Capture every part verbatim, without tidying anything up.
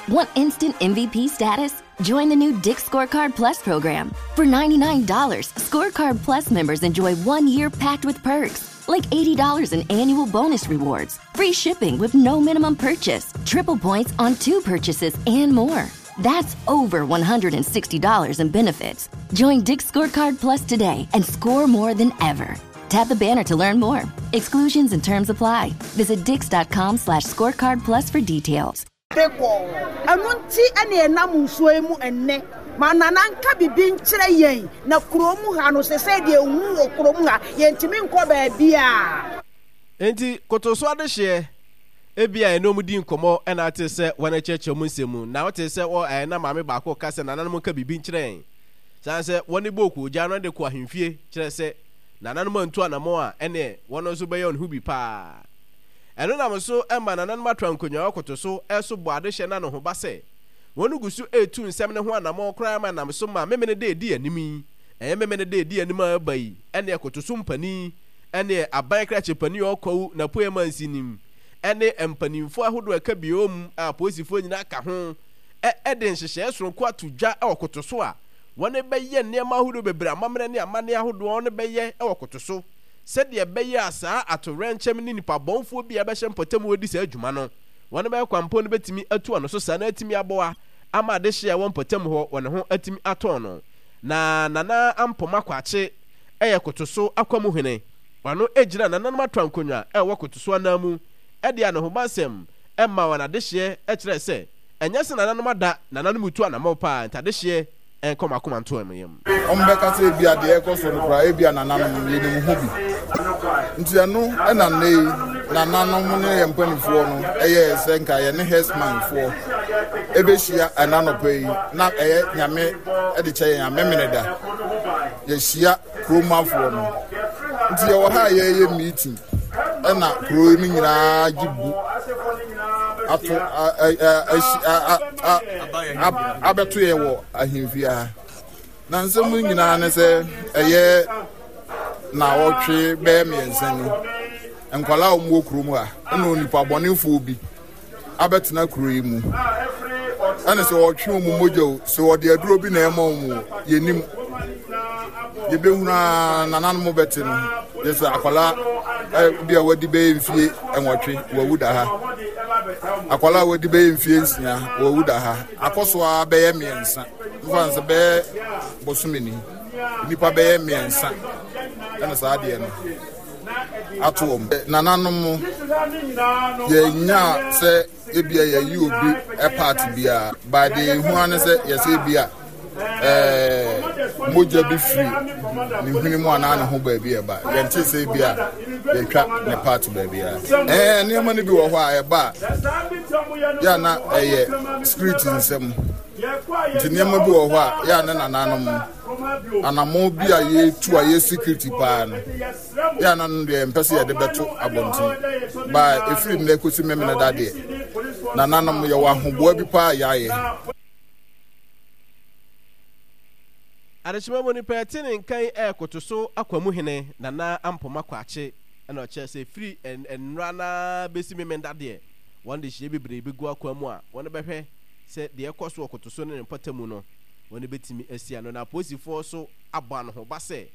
Want instant M V P status? Join the new Dick's Scorecard Plus program. For ninety-nine dollars, Scorecard Plus members enjoy one year packed with perks, like eighty dollars in annual bonus rewards, free shipping with no minimum purchase, triple points on two purchases, and more. That's over one hundred sixty dollars in benefits. Join Dick's Scorecard Plus today and score more than ever. Tap the banner to learn more. Exclusions and terms apply. Visit dicks dot com slash scorecard plus for details. De kɔ ɛno nti ɛne ɛnam nsuo yi mu ɛnnɛ ma nana nka bibi nkyerɛ yɛn na kurom ha no sɛ sɛ deɛ ehu wɔ kurom ha, yɛntumi nkɔ baabi a. Nti koto so adehyeɛ ebi a ɛne ɔmo di nkɔmmɔ ɛna ate sɛ wɔn akyerɛkyerɛ mu nsɛm mu na wote sɛ wɔ ɛɛ na maame baako ka sɛ nananom nka biribi nkyerɛ yɛn san sɛ wɔne bɔ okuogya no de kɔ ahemfie kyerɛ sɛ nananom antu anammɔn a ɛneɛ wɔn nso bɛyɛ ɔne ho bi paa. Ɛno nam so ɛma nananom atra nkonnwa ɔkoto so ɛso bɔ adehyɛ na ne ho ba sɛ wɔn gu so etu nsɛm ne ho anammɔn koraa ma nam so ma Memene de edi anim yi, ɛyɛ Memene de edi anim a ɛba yi, ɛne ɛkoto so mpanin ɛne aban krakye panin a ɔkɔwu na poe mansi nim ɛne mpanimfoɔ ahodoɔ a ɛka bio mu a apolisifoɔ nyinaa ka ho ɛde nhyehyɛeɛ soronko ato dwa ɛwɔ koto so a wɔn bɛyɛ nneɛma ahodoɔ bebree, amammerɛ ne amanneɛ ahodoɔ wɔn bɛyɛ ɛwɔ koto so sɛdeɛ ɛbɛyɛ a saa atowerɛnkyɛm ne nipa bɔnfoɔ bi a ɛbɛhyɛ mpɔtam wɔdi saa adwuma no, wɔn bɛyɛ kwampɔn no bɛtumi atu ano so saa na atumi aboa ama adehyeɛ a ɛwɔ mpɔtam hɔ wɔn ho atumi atɔn no. Na Nana Ampoma Kwakye ɛyɛ koto so akwamuhene, ɔno gyina nananom atra nkonnwa ɛwɔ koto so anan mu ɛde anohobansɛm ɛma wɔn adehyeɛ ɛkyerɛ sɛ ɛnyɛ sɛ nananom ada, nananom tu anammɔ paa nti adehyeɛ ɛnkɔ makoma nto ɛmo yam. Ɔmbɛka sɛ ebia deɛ ɛkɔ so no koraa, ebia nananom yɛnim ho bi, nti ɛno ɛna nnɛ yi nananom ne yɛn mpanimfoɔ no ɛyɛ sɛ nka yɛne herdsmanfoɔ ɛbɛhyia ɛna nɔpɛ yi na ɛyɛ Nyame ɛde kyɛ yɛn amemene da yɛhyia kuromafoɔ no. Nti yɛwɔ ha a yɛreyɛ meeting ɛna kuro no nyinaa gye bu ato abɛto yɛ wɔ ahemfie ha. Na nsɛm no nyinaa ne sɛ ɛyɛ na ɔtwe bɛyɛ mmiɛnsa ni, nkwadaa a wɔwɔ kurom ha ɛna onipa bɔnefoɔ bi abɛtena kuro yi mu ɛna sɛ ɔtwe wɔn mogya o, sɛ ɔde aduro bi na ɛma wɔn o, yɛnim yɛbɛhunu a nananom bɛte no yɛ sɛ akwadaa bi a wadi bɛyɛ mfie nwɔtwe wawu da ha, akwadaa a wadi bɛyɛ mfie nsia wawu da ha. Akɔ so a bɛyɛ mmiɛnsa nfa nsɛ bɛyɛ bosome ni, nipa bɛyɛ mmiɛnsa ɛna saa adeɛ no ato wɔn. Nananom yɛnya sɛ ebia yɛyi obi part biara baade ehu ano sɛ yɛsɛ ebia ɛɛ mogya bi firi ne hwene mu anaa ne ho baabi ɛba, yɛnte sɛ ebia yɛtwa ne part baabi a ɛɛ nneɛma no bi wɔ hɔ a ɛba a yɛ na ɛyɛ spirit nsɛm. Nti nneɛma bi wɔ hɔ a yɛ ne nananom anammɔn bi a yɛtu a yɛ security paa no yɛ ana no deɛ mpɛ sɛ yɛde bɛto abɔnten baa. Ɛfiri nnɛ kɔsi Memene da deɛ, nananom yɛwɔ ahoboa bi paa yɛayɛ. Adehyema mu nipa ɛte ne nkan ɛɛkoto so akwamuhene Nana Ampoma Kwakye ɛna ɔkyerɛ sɛ firi nnora na bɛsi Memenda deɛ, wɔn de hyia bebree bɛgu akwan mu a wɔn bɛhwɛ sɛ deɛ ɛkɔ so wɔ koto so ne ne mpɔtamu no wɔn bɛtumi asi ano. Na apolisifoɔ so abɔ anohoba sɛ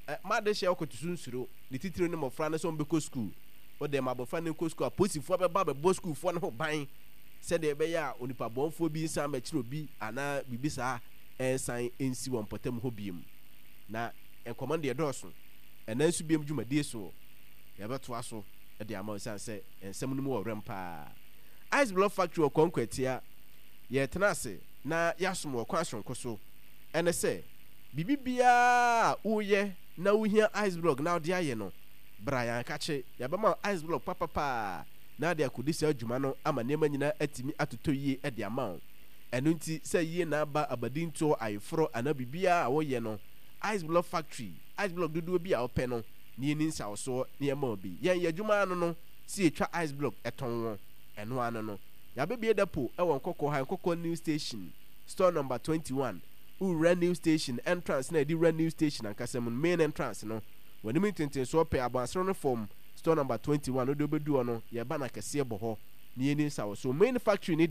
ɛ ma adehyɛ wɔ koto so nsuro ne titiri ne mmɔfra no sɛ wɔn bɛkɔ sukuu. Wɔde ma abɔfra no nkɔ sukuu, apolisifoɔ bɛba bɛbɔ sukuufoɔ no ho ban sɛdeɛ ɛbɛyɛ a onipa bɔnfoɔ bi nsan bɛkyerɛ obi anaa biribi saa ɛnsan nsi wɔn mpɔtam hɔ biem. Na nkɔmɔ no deɛ dɔɔso, ɛnan nso biem dwumadie soɔ yɛbɛtoa so de ama ɛsiane sɛ nsɛm no mu wɔ werɛm paa. Ice Block Factory wɔ Kɔnkɔ yɛtena ase na yɛasom wɔ kwan soronko so. Ɛne sɛ biribi biara a woyɛ na wohia ice block na wode ayɛ no, bra yɛn akakye, yɛbɛma ice block papapaa na ade akɔdi saa adwuma no ama nneɛma nyinaa atumi atotɔ yie de ama wo. Ɛno nti sɛ yie na aba abadintoɔ, ayeforɔ anaa biribiara a woyɛ no, Ice Block Factory, ice block dodoɔ bi a wopɛ no na yɛni nsawosoɔ na yɛma wo bi. Yɛn yɛ adwuma ano no sɛ yɛtwa ice block ɛtɔn wɔ ɛno ano no. Yɛabɛbie depot ɛwɔ Nkɔkɔɔ ha, Nkɔkɔɔ New Station, store number twenty-one. Wowura New Station entrance na yɛde wura New Station ankasa mu no, main entrance no w'anim ntentensoɔ pɛ, abɔnsoro no fam, store number twenty-one. Wode wobɛdu hɔ no, yɛba no akɛseɛ bɔ hɔ na yɛni nsawosoɔ. Main factory ne